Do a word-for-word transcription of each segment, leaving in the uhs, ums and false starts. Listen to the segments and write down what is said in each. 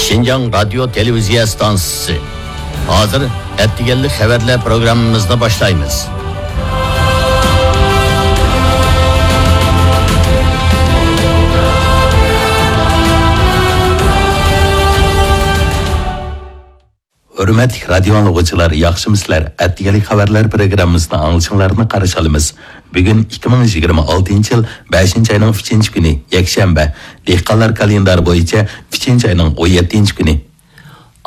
شىنجاڭ رادىيو تېلېۋىزىيە ئىستانسىسى. ھازىر ئەتىگەنلىك خەۋەرلەر پروگراممىمىزنى باشلايمىز. ھۆرمەتلىك رادىيو ئاڭلىغۇچىلار، ياخشىمۇسىلەر؟ ئەتىگەنلىك خەۋەرلەر پروگراممىسىنى ئاڭلىشىڭلارنى قارشى ئالىمىز. بۈگۈن ئىككى مىڭ يىگىرمە ئالتىنچى يىل بەشىنچى ئاينىڭ ئۈچىنچى كۈنى، يەكشەنبە. دېھقانلار كالېندارى بويىچە ئۈچىنچى ئاينىڭ ئون يەتتىنچى كۈنى.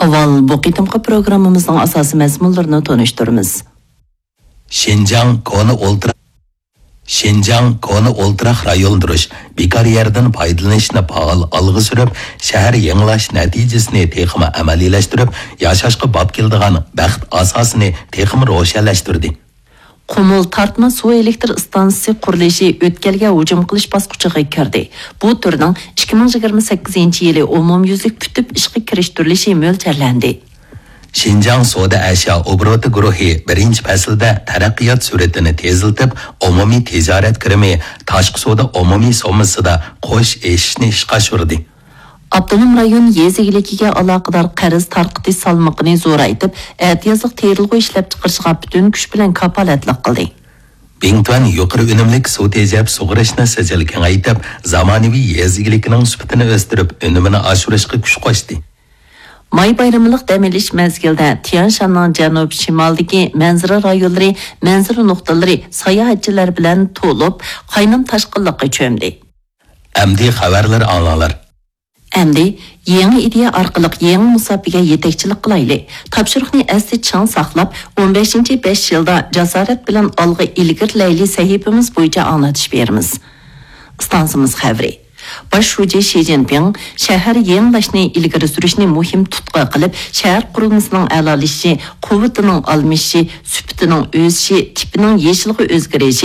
ئاۋۋال بۇ قېتىمقى پروگراممىمىزنىڭ ئاساسىي مەزمۇنلىرىنى تونۇشتۇرىمىز. شىنجاڭ كونا ئولتۇراق شىنجاڭ كونا ئولتۇراق رايونلاشتۇرۇش، بىكار يەردىن پايدىلىنىشنى پائال ئالغا سۈرۈپ، شەھەر يېڭىلاش نەتىجىسىنى تېخىمۇ ئەمەلىيلەشتۈرۈپ، ياشاشقا باب كېلىدىغان بەخت ئاساسىنى تېخىمۇ روشەنلەشتۈردى. قۇمۇل تارتما سۇ ئېلېكتر ئىستانسىسى قۇرۇلۇشى ئۆتكەلگە ھۇجۇم قىلىش باسقۇچىغا كىردى. بۇ تۈرنىڭ ئىككى مىڭ يىگىرمە سەككىزىنچى يىلى ئومۇميۈزلۈك پۈتۈپ ئىشقا كىرىشتۈرۈلۈشى مۆلچەرلەندى. شىنجاڭ سودا ئەشيا ئوبوروتى گۇرۇھى بىرىنچى پەسىلدە تەرەققىيات سۈرئىتىنى تېزلىتىپ، ئومۇمىي تىجارەت كىرىمى، تاشقى سودا ئومۇمىي سوممىسىدا قوش ئېشىشنى ئىشقا ئاشۇردى. ئاپتونوم رايون يېزا ئىگىلىكىگە ئالاقىدار قەرز تارقىتىش سالمىقىنى زورايتىپ، ئەتىيازلىق تېرىلغۇ ئىشلەپچىقىرىشىغا پۈتۈن كۈچ بىلەن كاپالەتلىك قىلدى. بىڭتۈەن يۇقىرى ئۈنۈملۈك سۇ تېجەپ سۇغىرىشنى سىجىل كېڭەيتىپ، زامانىۋى يېزا ئىگىلىكىنىڭ سۈپىتىنى ئۆستۈرۈپ، ئۈنۈمىنى ئاشۇرۇشقا كۈچ قوشتى. ماي بايرىملىق دەم ئېلىش مەزگىلىدە تيەنشاننىڭ جەنۇب-شىمالىدىكى مەنزىرە رايونلىرى، مەنزىرە نۇقتىلىرى ساياھەتچىلەر بىلەن تولۇپ، قاينام تاشقىنلىققا چۆمدى. ئەمدى خەۋەرلەر ئاڭلاڭلار. ئەمدى يېڭى ئىدىيە ئارقىلىق يېڭى مۇساپىگە يېتەكچىلىك قىلايلى. تاپشۇرۇقنى ئەستە چىڭ ساقلاپ، ئون بەشىنچى بەش يىلدا جاسارەت بىلەن ئالغا ئىلگىرىلەيلى سەھىپىمىز بويىچە ئاڭلىتىش بېرىمىز. ئىستانسىمىز خەۋىرى. باش شۇجى شى جىنپىڭ شەھەر يېڭىلاشنى ئىلگىرى سۈرۈشنى مۇھىم تۇتقا قىلىپ، شەھەر قۇرۇلمىسىنىڭ ئەلالىشىشى، قۇۋۋىتىنىڭ ئالمىشىشى، سۈپىتىنىڭ ئۆسۈشى، تىپىنىڭ يېشىلغا ئۆزگىرىشى،